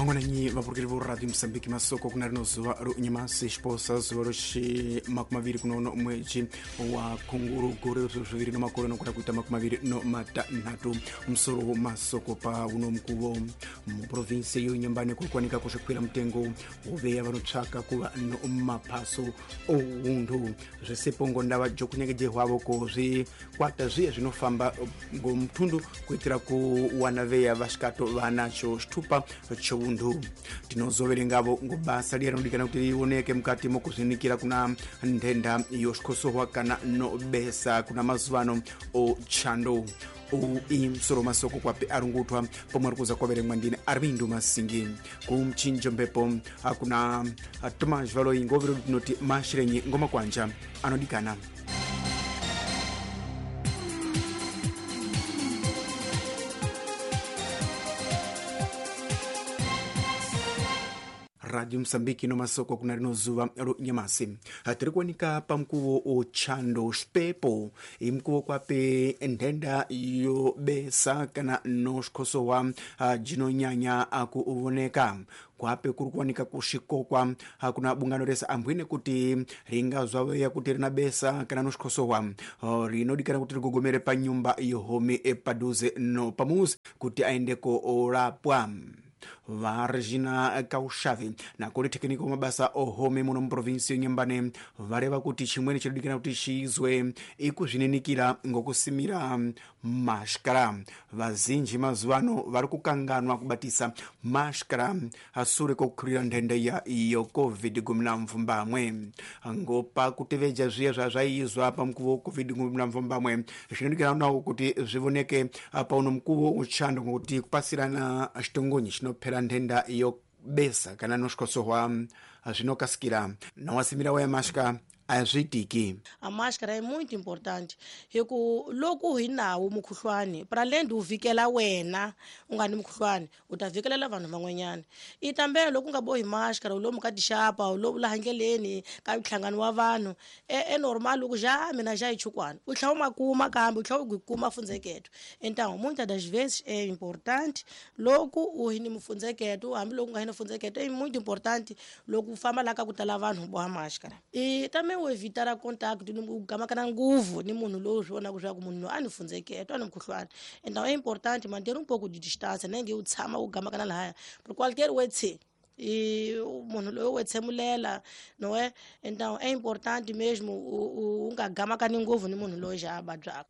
Mangwananyi vapurukeli vo Radio Mosambiki, masoko kuna rino zuva ro nyamasi xiposa zuva roxi 21 kunono mwedzi wa khunguru gore zviviri no makore nokuda kuita 26 musoro masoko pa uno mukuvo. Muprovinsi yo Nyambane kuri kuwanika kusvikwira mutengo woveya vanotsvaka kuva no maphaso oundu zvesipo ngo ndava jokunyengejehwavo ko zvikwata zviya zvinofamba ngo mutundu kuitira kuwana veya vasvikato vanacho xitupa choundu. Tinozoverengavo ngo basa riya rinodikana kuti rioneke mukati mokuzvinikira kuna nthenda yoxikhosohwa kana nobesa kuna mazuvano ochando. Ui msoro masoko kwape arungutwa pomwe ari kuza kwaverengwa ndine Armindo Masingi. Kumchinjo mphepo akuna Tomas Valoi ngovero tinoti mashirenyi ngoma kwanja anodikana. Radio Mosambiki no masoko kuna rino zuva ro nyamasi. Tiri kuwanika pamukuvo ochando xipepo imukuvo kwape nthenda yobesa kana no xikhosowa jinonyanya akuvoneka kwape kuri kuwanika kuxikokwa kuna bungano rese ambwine kuti ringazwaveya kuti rina besa kana no xikhosowa rinodikana kuti rigogomere pa nyumba yohomi padhuze no pamuzi kuti aendeko orapwa. Va Regina Kaushavi nakoli tekiniko mabasa ohome muno muprovinsi yeNyambane vareva kuti chimweni chinodikana kuti chiizwe ikuzvininikira ngokusimira mashkara. Vazinji mazuva ano vari kukanganwa kubatisa mashkara asure kokukhurira nthenda ya COVID-19. Ngopa kuteveja zviya zvazvaiizwa pamukuvo wa COVID-19 zvinodikana nawo kuti zvivoneke pauno mukuvo uchando ngokuti kupasirana xitongonyi chinophera nthenda yobesa kana noxikhosohwa zvinokasikira nawasimira waya mashka azviitiki. A máscara é muito importante hiku loko hi nawo mukhuhlwani para além de u vikela wena u nga ni mukhuhlwani u ta vikelela vanhu van'wanyana. I tambela loko u nga bohi máscara u lomu ka tixapa u lomu laha ndleleni ka nhlangano wa vanhu e normal ku ja mina ja hi chukwana u tlhela u ma kuma kambe u tlhela u kuma fundzeketo. Então muitas das vezes é importante loko u hi ni mufundzeketo hambiloko u nga hi ni fundzeketo é muito importante loko u famba laha ka ku tala vanhu boha máscara. I também o evitar a contato ni gamakana nguvu ni munhu lowu swi vonaka leswaku munhu loyi a ni fundzeketo a ni mukhuhlwani. Então é importante manter um pouco de distância nem nge u tshama u gamakana lahaya porque qualquer wetse e munhu loyi u wetsemulela não é? Então é importante mesmo u nga gamakani ngopfu ni munhu loyi xa a vabyaka.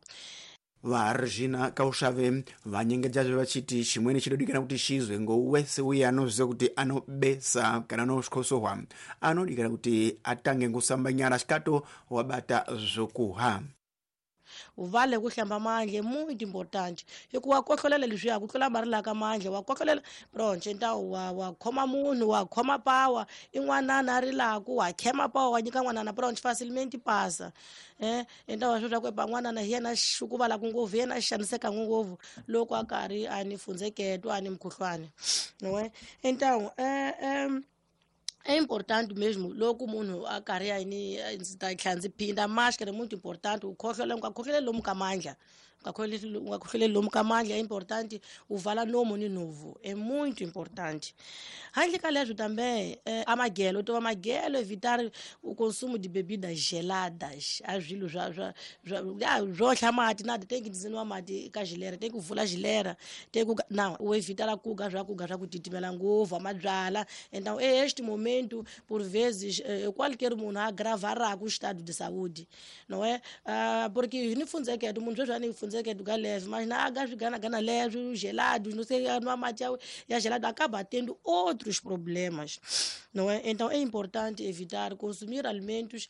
Va Regina Kaushave vanyengedzazve vachiti chimweni chinodikana kuti chizwe ngowese uye anoziva kuti anobesa kana noxikhosohwa anodikana kuti atange ngosamba nyara xikato wabata zvokuha. Vale ku hlamba mandla é muito importante hikuva wa kohlolela leswiya ku tlula mari laka mandla wa kohlolela pronto. Então wa khoma munhu wa khoma pawa i n'wanana a rilaku wa khema pawa wa nyika n'wanana pronto facilmente pasa. Então wa swi ku epa n'wanana hi yena xukuvalaku ngopfu hi yena xaniseka ngopfu loko a karhi a ni fundzeketo a ni mukhuhlwani não é? Então é importante mesmo loko munhu a karhi a yini ndzi ta tlhela ndzi phinda máscara é muito importante u khohlola u nga khohloleli lomu ka mandla u nga khohloleli lomu ka mandla é importante u vala nomu ni nhovu é muito importante. Handle ka leswo também a magelo to va magelo evitar o consumo de bebidas geladas a swilo swa swa swo hla mati na tem que dizinwa mati ka gilera tem que vula gilera tem que não o evitar kuga swa kuga swa ku titimela ngopfu mabyala. Então é este momento por vezes qualquer munhu a agravará o estado de saúde não é? Porque ni fundzeketo munhu sweswi a ni fundzeketo ka leve mas na aga swi gana gana leve gelados não sei nwa mati ya gelado acaba tendo outros problemas não é? Então é importante evitar consumir alimentos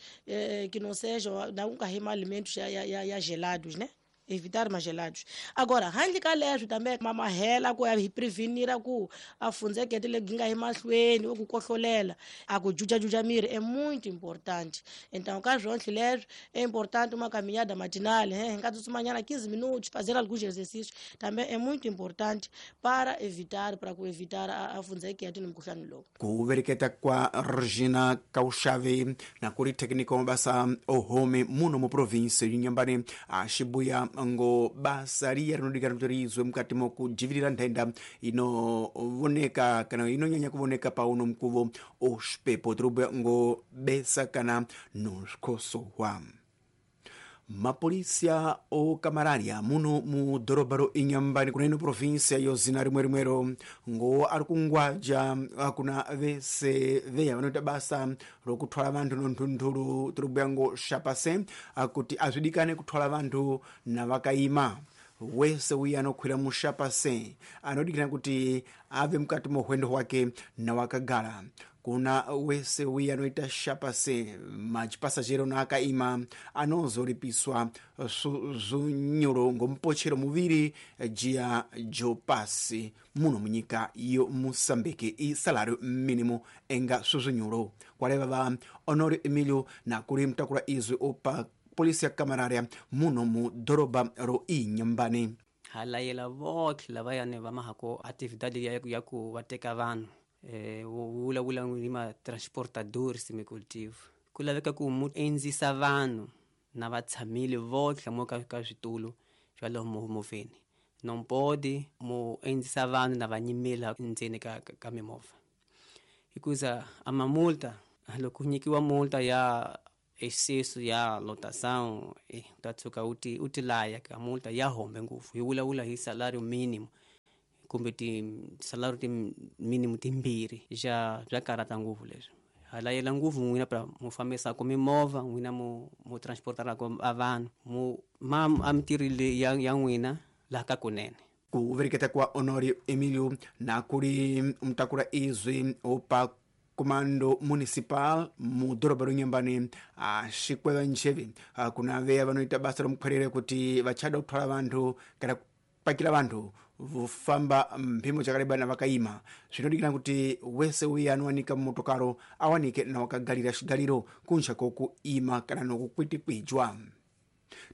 que não sejam não carrema alimentos ya gelados, né? Evitar mais gelados. Agora, handle ka leswo também mamahela ku ya hi prevenir ku a fundzekete le ginga hi mahlweni ku kohlolela a ku juja miri é muito importante. Então, ka swonhle leswo é importante uma caminhada matinal, hi nga tsutsumanyana 15 minutos, fazer alguns exercícios também é muito importante para evitar para ku evitar a fundzekete ni mukhuhlwani lowu. Ku vereketa kwa Regina Kaushave na kuri técnico mabasa ohome muno mu province y'Inyambane a xibuya ngo basa liya rinodikana kuti riizwe mukati mokujivirira nthenda inovoneka kana inonyanya kuvoneka pauno mkuvo osvipepo. Tirikubhuya ngo besa kana nosvikhosohwa. Mapolisia o Camararia muno mu dhorobha ro Inhambane kuna ino provinsia yo zina rimwe rimwero ngo ari kungwaja kuna vese veya vanoita basa rokuthwala vanthu nonthunthu tirikubhuya ngo shapase kuti azvidikane kuthwala vanthu na vakaima. Wese uya anokhwira mushapase anodikana kuti ave mukati mo hwendo hwake na wakagala. Kuna wese uya anoita shapase machipasajero na akaima anozoripiswa zunyuro ngompochero muviri jiya jopasi muno munyika yo Moçambique i salário mínimo enga suzunhulo. Kwaleva va Honório Emílio na kuli mtakula izwi opa polícia camarária muno mu doroba ro Inhambane. Halayela votlhe lavayani va mahako atividade ya ku va teka vanhu vulavula ni ma-transportadores semicultivo ku laveka ku mu endzisa vanhu na va tshamile votlhe mo ka switulu swa lomu movheni non pode mu endzisa vanhu na va nyimela ndzeni ka mimovha hikuza a mamulta loko nyikiwa multa ya excesso ya lotação u ta tshuka u ti laya ka multa ya hombe ngopfu hi vulavula hi salario mínimo kumbe ti salario ti mínimo timbirhi bya karata ngopfu leswi halayela ngopfu n'wina pra mu fambisaka mimovha n'wina mu transportaraka a vanhu mu ma a mintirho leyi ya n'wina laha ka kunene. Kuvereketa kwa Honório Emílio na kuli mtakula izwi opa comando municipal mu dhorobha ro Inhambane axikweva ncheve kuna veya vanoita basa romukhwerere kuti vachada kuthwala vanthu kana kupakira vanthu vofamba mphimo chakaleba na vakaima. Zvinodikana kuti wese uya anowanika mumotokaro awanike na wakagalira xigaliro kunja kokuima kana nokukwitikwijwa.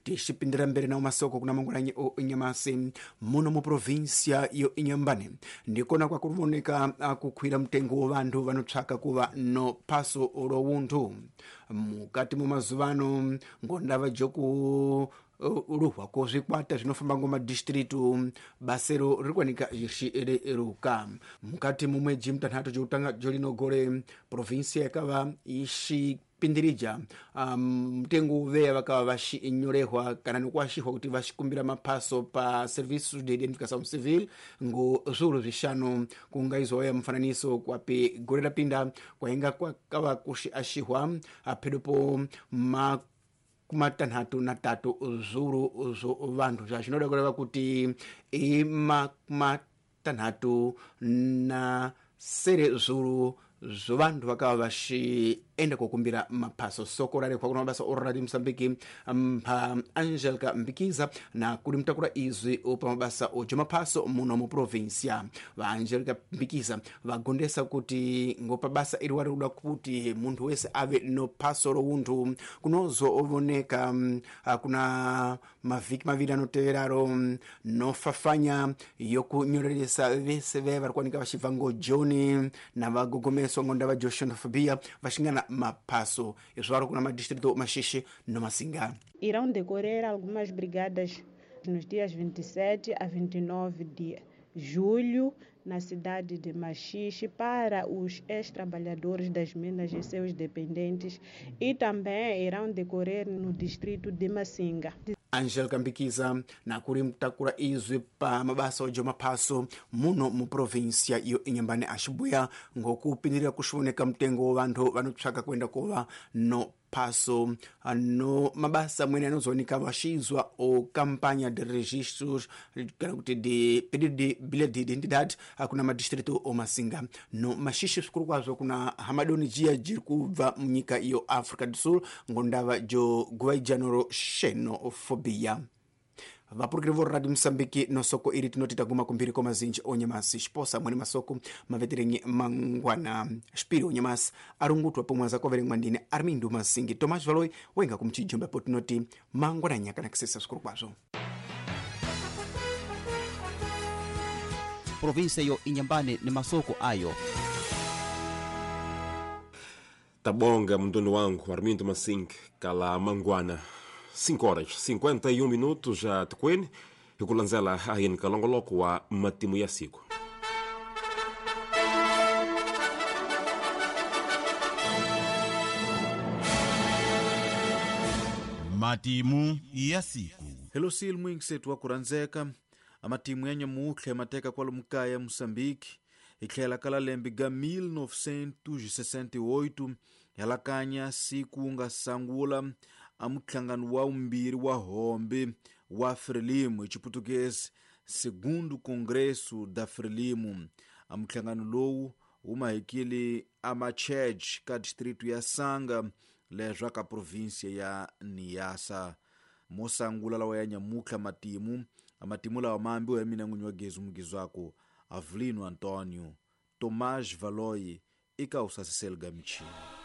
Tixipindira mbere nawo masoko kuna mangwananyi o Inhamasi muno mu provinsia yo Inhambane ndikona kwakuvoneka kukhwira mtengo wa vanthu vanotsvaka kuva no phaso ro wunthu mukati mu mazuvano ngondava joku luhwa ko zvikwata zvinofamba ngo madistritu basero riri kuwanika rixireruka mukati mu mwedzi mutanhatu jokutanga jolino gore provinsia yakava ixipindirija mtengo uveya vakava vaxinyorehwa kana nokuaxihwa kuti vaxikumbira maphaso pa serviços de identificação civil ngo zviuru zvixanu kungaizwa ya mufananiso kwapi gore rapinda kwainga kwakava kuxiaxihwa phedopo matanhatu na tatu zviuru zvo vanthu zva zvinoda kureva kuti i matanhatu na sere zviuru zvo vanthu vakava vaxienda kokumbira maphaso. Soko rarehwa kuna mabasa o Radio Moçambique mpha Angelica Mbikiza na kuli mtakula izwi opa mabasa ojo maphaso muno mu provinsia. Va Angelica Mbikiza vagondesa kuti ngopa basa iri wari kuda kuti munthu wese ave no phaso ro wunthu kunozo ovoneka kuna mavhiki maviri anoteveraro nofafanya yokunyoreresa vese vaya vari kuwanika vachibva ngo Joni na vagogomeswa ngo ndava jo xenofobia vaxingana maphaso izvo vari kuna madistrito Maxixe no Massinga. Irão decorrer algumas brigadas nos dias 27 a 29 de julho na cidade de Maxixe para os ex-trabalhadores das minas e seus dependentes e também irão decorrer no distrito de Massinga. Angelica Mbikiza na kuli mtakula izwi pa mabasa ojo maphaso muno mu provinsia yo Inhambane axibuya ngokupindirira kuxivoneka mtengo wa vanthu vanotsvaka kuenda kova no phaso no mabasa amweni anozooneka vaxizwa o campanha de registros kana kuti de pedido de bilhete de identidade kuna madistrito o Massinga no Maxixe zvikuru kwazvo kuna hamadoni jiya jiri kubva munyika iyo Africa do Sul ngondava jo guvaijano ro xenofobia. Vapurukiri vo Radio Moçambique no soko iri tinoti taguma kumbiri kwa mazinji onyamasi xiposa mwene masoko maveterenyi mangwana xipiri onyamasi arungutwa pomwe azakoverengwa ndine Armindo Masingi Tomás Valoi wenga kumchijombe apo tinoti mangwana nyaka nakisesa zvikuru kwazvo. Provinsia yo Inhambane ni masoko ayo. Tabonga mndondo wangu Armindo Masingi kala mangwana. 5 horas 51 minutos a tikweni hi ku landzela ahini ka longoloko wa matimu ya siku. Matimu ya siku. Hello sil mwingisetu wa kurhandzeka amatimu ya nyamutlha mateka kwalomu kaya Moçambique hi tlhela ka lembe ga 1968 helakanya siku nga sangula a muhlangano wa vumbirhi wa hombe wa Frelimo hi Xiputukezi Segundo Congresso da Frelimo. A muhlangano lowu wu mahekile a Machej ka distrito ya Sanga leswa ka província ya Niassa. Mo sangula lawa ya nyamutlha matimu amatimu lawa maambiwa ya mina n'winyi wa gezi mugizwako Avelino Antonio Tomás Valoi eka usasiseli ga michini.